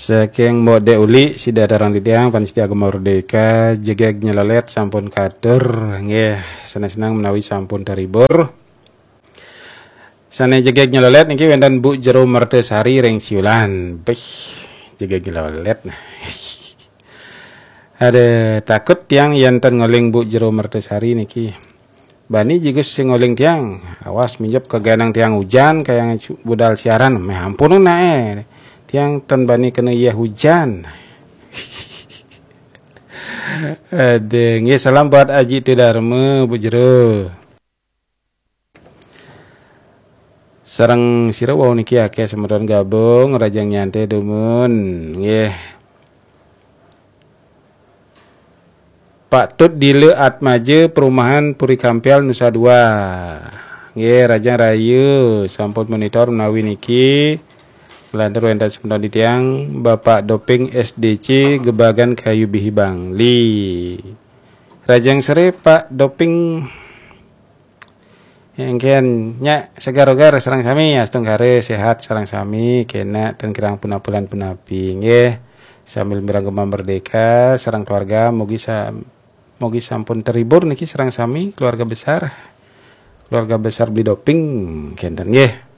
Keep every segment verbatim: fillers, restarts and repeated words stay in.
Saking Mbok Dek Uli, sida tarang titiang, pamiarsa Gema Merdeka, jegeg nyeleled sampun katur, nggih, seneng-seneng menawi sampun terhibur. Sane jegeg nyeleled niki wenten Bu Jero Mertasari ring Siulan. Bih, jegeg nyeleled. Ada takut tiang yen ten ngoling Bu Jero Mertasari niki. Bani jigus sing ngoling tiang. Awas minjep keganang tiang hujan kayang budal siaran. Meh ampun nae. Tiang ten bani kena iya hujan. Ada, nggih, salam buat Aji Tidarma, Bu Jero. Sareng sira wau niki akeh semeton gabung, rajang nyantai dumun, nggih. Pak Tut Dile Atmaja, Perumahan Puri Kampial, Nusa Dua. Nggih, rajang rayu, sampun monitor menawi niki. Lantur wenten semeton titiang, Bapak Doping S D C, Gebagan Kayu Bihi Bangli. Rajang sore, Pak Doping. Engken, nya segar-ogar sareng sami, astungkara sehat sareng sami, kena ten kirang punapulan punapi, nggih. Sambil mireng Gema Merdeka sareng keluarga, mugi sa-, mugi sampun terhibur niki sareng sami keluarga besar. Keluarga besar Beli Doping, kenten nggih.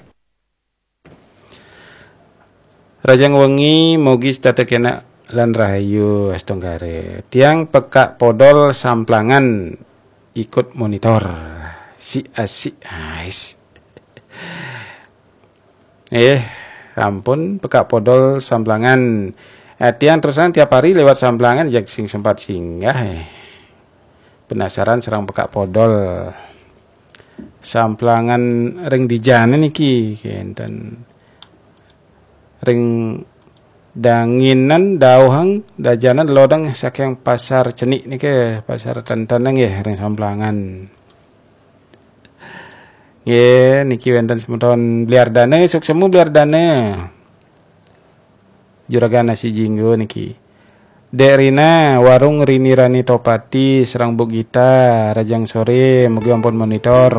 Rajang wengi, mugi setata kena lan rahayu, astungkara. Tiang Pekak Podol Samplangan ikut monitor. Si asik, ais. Eh, ampun, Pekak Podol Samplangan. Eh, tiang terus terang tiap hari lewat Samplangan, jak sing sempat singgah, eh. Penasaran sareng Pekak Podol. Samplangan ring dijane niki, kenten. Ring danginan dauhang dajanan lodang saking Pasar Cenik niki, Pasar Tenten nggih, ring Samplangan. Nggih, niki wenten semeton Bliardana, suksma Bliardana. Juragan Nasi Jinggo niki. Dek Rina, Warung Rini Rani Topati, sareng Bu Gita, rajang sore, mugi ampun monitor.